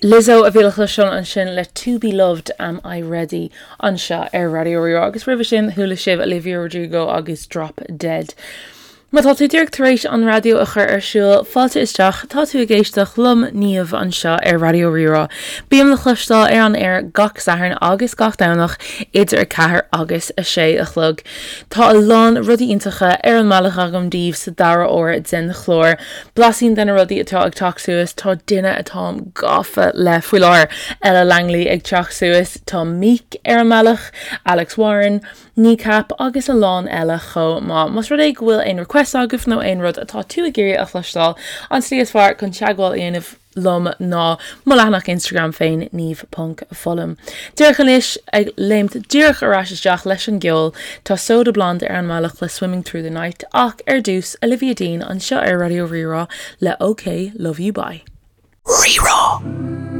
Lizzo a bhí le cloisteáil ansin le To Be Loved Am I Ready anseo ar Raidió Rí-Rá agus roimhe sin chuala sibh Olivia Rodrigo agus Drop Dead. Má tá tú díreach tar éis an raidió a chur ar siúl, fáilte isteach, tá tú ag éisteacht liom, Niamh, anseo ar Raidió Rí-Rá. Bím le cloisteáil ar an aer gach Satharn agus gach Domhnach idir 4 agus 6 a chlog. Tá a lán rudaí iontacha ar an mbealach agam daoibh sa dara huair den chlár. Blaisín de na rudaí atá ag teacht suas, tá duine atáim gafa le faoi láthair, Ella Langley ag teacht suas, tá Meek ar an mbealach, Alex Warren, Kneecap agus a lán eile chomh maith. Más rud é go bhfuil aon requests agaibh nó aon rud atá tú ag iarraidh a chloisteáil, an tslí is fearr chun teagmháil a dhéanamh liom ná mo leathanach Instagram féin, niamh ponc foghlaim. Díreach anois, ag léimt díreach ar ais isteach leis an gceol, tá Soda Blonde ar an mbealach le Swimming Through the Night ach ar dtús, Olivia Dean anseo ar Raidió Rí-Rá le OK Love You Bye. Rí-Rá.